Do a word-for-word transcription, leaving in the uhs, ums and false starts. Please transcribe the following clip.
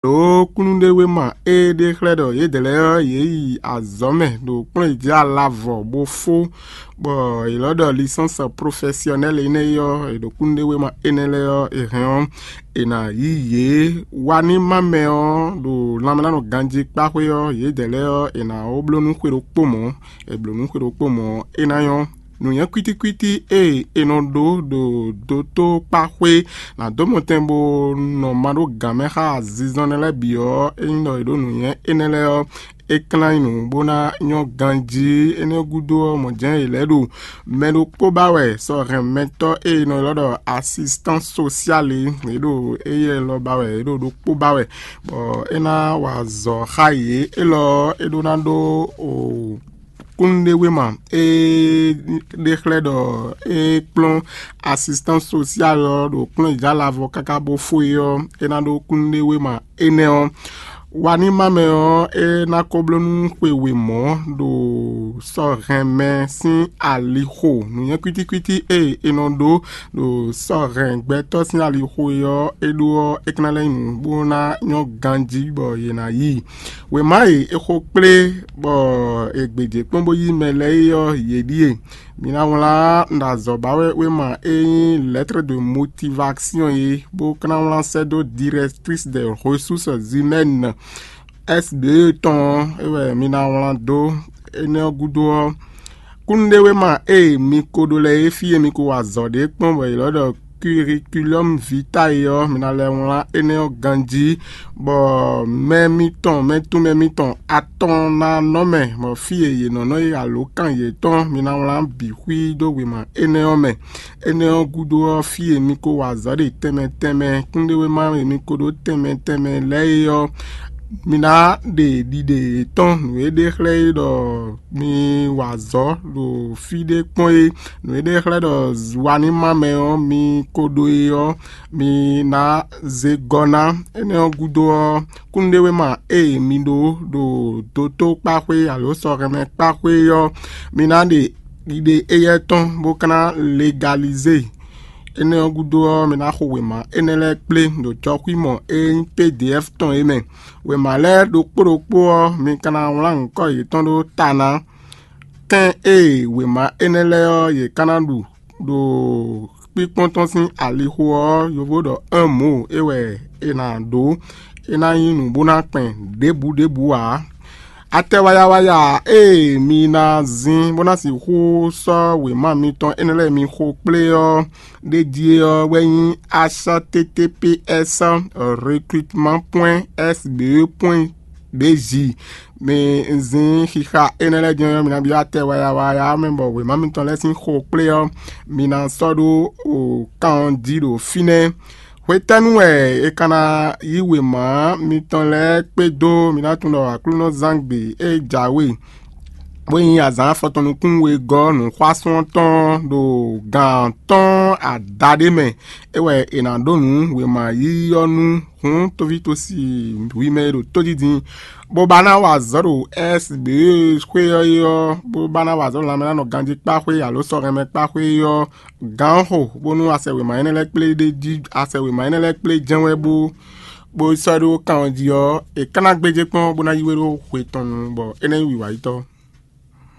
Ɖó kúnnuɖewéma e ɖe xlɛ́ ɖɔ yědɛɛ lɛ́ɛ ɔ́, yě yi azɔ̌ mɛ ɖo kplɔ́nyijǐ alavɔ bó fó, bɔ è lɔ́ ɖɔ lisɔ́nsɔ profɛsiɔnɛ́li énɛ́ é ɔ́, è ɖo kúnnuɖewéma énɛ́ lɛ́ɛ ɔ́, è hɛn ɔ́, è nǎ yí yě wá ní má mɛ ɔ́ ɖo lanmɛnánɔ ganjí kpáxwé ɔ́, yědɛɛ lɛ́ɛ ɔ́, è nǎ wó bló nú xwe ɖokpó mɔ̌. È blǒ nú xwe ɖokpó mɔ̌, é ná nyɔ́. Nǔnywɛ́ kwítíkwítí e è nɔ ɖó ɖo dotó kpá xwé ná dó mɔtɛn bó nɔ ma ɖó gǎn mɛ xá azinzɔnnɔ lɛ́ɛ bǐ ɔ́, ényí ɖɔ è ɖǒ nǔnywɛ́ énɛ́ lɛ́ɛ ɔ́, é klán nyi nǔ bó ná nyɔ́ ganjí. Énɛ́ gúdo ɔ́, mɔ̌ jɛ́n è lɛ̌ ɖo mɛ ɖokpó ba wɛ sɔ hɛn mɛtɔ́ e è nɔ ylɔ́ ɖɔ asistán sosiáli é ɖo éyɛ́ lɔ ba wɛ, é ɖo ɖokpó ba wɛ, bɔ é ná wa azɔ̌ xá yě. Élɔ́ ɔ́, é ɖó ná ɖó o kúnnuɖewéma e ɖe xlɛ́ ɖɔ é kplɔ́n asistán sosial ɔ́ ɖo kplɔ́njǎ lavɔ káká bó fó é ɔ́, é ná ɖó kúnnuɖewéma énɛ́ ɔ́. Wa ní má mɛ ɔ́, é ná ko bló nú xwe wěmɔ́ ɖo sɔ́ hɛn mɛ sín alixo. Nǔnywɛ́ kwítíkwítí e è nɔ ɖó ɖo sɔ́ hɛn gbɛtɔ́ sín alixo é ɔ́, é ɖó ɔ́, é ka ná lɛ́ nyí nǔ bó ná nyɔ́ ganjí bɔ yě ná yí i. Wěma e è xo kplé bɔ è gbějé kpɔ́n bó yí mɛ lɛ́ɛ é ɔ́, yě ɖíe. Mi ná wlán ɖo azɔ̌ ba wɛ wéma e nyí lettre de motivation é, bó ka ná wlán sɛ́ dó directrice des ressources humaines, S B E tɔn ɔ́, é wɛ mi ná wlán dó. Énɛ́ ɔ́ gúdo ɔ́, kúnnuɖewéma e mi ko ɖó lɛ́ɛ é fí e mi ko wa azɔ̌ ɖe kpɔ́n bɔ è lɔ́ ɖɔ curriculum vitae ɔ́, mi ná lɛ́ wlán énɛ́ ɔ́ ganjí, bɔ mɛ mitɔn, mɛtunwun mɛ mitɔn atɔn ná nɔ mɛ, bɔ fí e yě nɔ nɔ yi alǒkan yětɔn, mi ná wlán bǐ xwí dó wěma énɛ́ ɔ́ mɛ. Énɛ́ ɔ́ gúdo ɔ́, fí e mi ko wa azɔ̌ ɖe tɛnmɛ tɛnmɛ, kúnnuɖewéma e mi ko ɖó tɛnmɛ tɛnmɛ lɛ́ɛ é ɔ́, mi ná ɖe ɖiɖe yětɔn nǔ e ɖe xlɛ́ é ɖɔ mi wa azɔ̌ ɖo fí ɖé kpɔ́n é. Nǔ e ɖe xlɛ́ ɖɔ wa ní má mɛ ɔ́, mi ko ɖó e ɔ́, mi ná zé gɔ́ ná. Énɛ́ ɔ́ gúdo ɔ́, kúnnuɖewéma e mi ɖó ɖo dotó kpáxwé alo sɔhɛnmɛ kpáxwé ɔ́, mi ná ɖe ɖiɖe éyɛ́ tɔn bó ka ná legalizé. Énɛ́ ɔ́ gúdo ɔ́, mi ná xo wěma énɛ́ lɛ́ɛ kplé ɖo jɔxwímɔ e nyí P D F tɔn é mɛ. Wěma lɛ́ɛ ɖokpó ɖokpó ɔ́, mi ka ná wlán nyǐkɔ yětɔn ɖó ta ná. Kɛ́n e wěma énɛ́ lɛ́ɛ ɔ́, yě ka ná ɖu ɖo kpíkpɔ́n tɔn sín alixo ɔ́, yovo ɖɔ un mot é wɛ è nǎ ɖó; é ná nyí nǔ bó ná kpɛn ɖěbǔ ɖěbǔ ǎ. Atɛ wayawaya e mi ná zín bó ná sixú sɔ́ wěma mitɔn énɛ́ lɛ́ɛ mi xo kplé ɔ́ ɖ'é jí é ɔ́ wɛ nyí H T T P S recrutement point S B E point B J. Mi zín xixa énɛ́ lɛ́ɛ jɛ́n ɔ́, mi ná byɔ́ atɛ wayawaya mɛ bɔ wěma mitɔn lɛ́ɛ sín xo kplé ɔ́, mi ná sɔ́ ɖó o kan ɔ́ jí ɖo fínɛ́. Hwetɛ́nu wɛ è ka ná yí wěma mitɔn lɛ́ɛ kpé dó? Mi ná tunwun ɖɔ aklúnɔzángbe e jǎwe bó nyí azǎn afɔtɔn nukún wegɔ́ nǔxwásún ɔ́ tɔn ɖo gan atɔ́ɔ́n adaɖé mɛ, é wɛ è nǎ ɖó nǔ wěma yíyí ɔ́ nú hǔn tóvítósi wi mɛ e ɖo tódídin, bó ba ná wa azɔ̌ ɖo S B E xwé ɔ́ é ɔ́, bó ba ná wa azɔ̌ ɖo lanmɛ ná nɔ ganjí kpá xwé alo sɔhɛnmɛ kpá xwé é ɔ́, gǎn xo bónú asɛ wěma énɛ́ lɛ́ɛ kplé ɖ'é jí, asɛ wěma énɛ́ lɛ́ɛ kplé jɛ́n wɛ bó bó sɔ́ ɖó kan ɔ́ jí ɔ́, è ka ná gbéjé kpɔ́n bó ná yí we ɖó hwe tɔn nu, bɔ é ná nyí wǐwayítɔ́.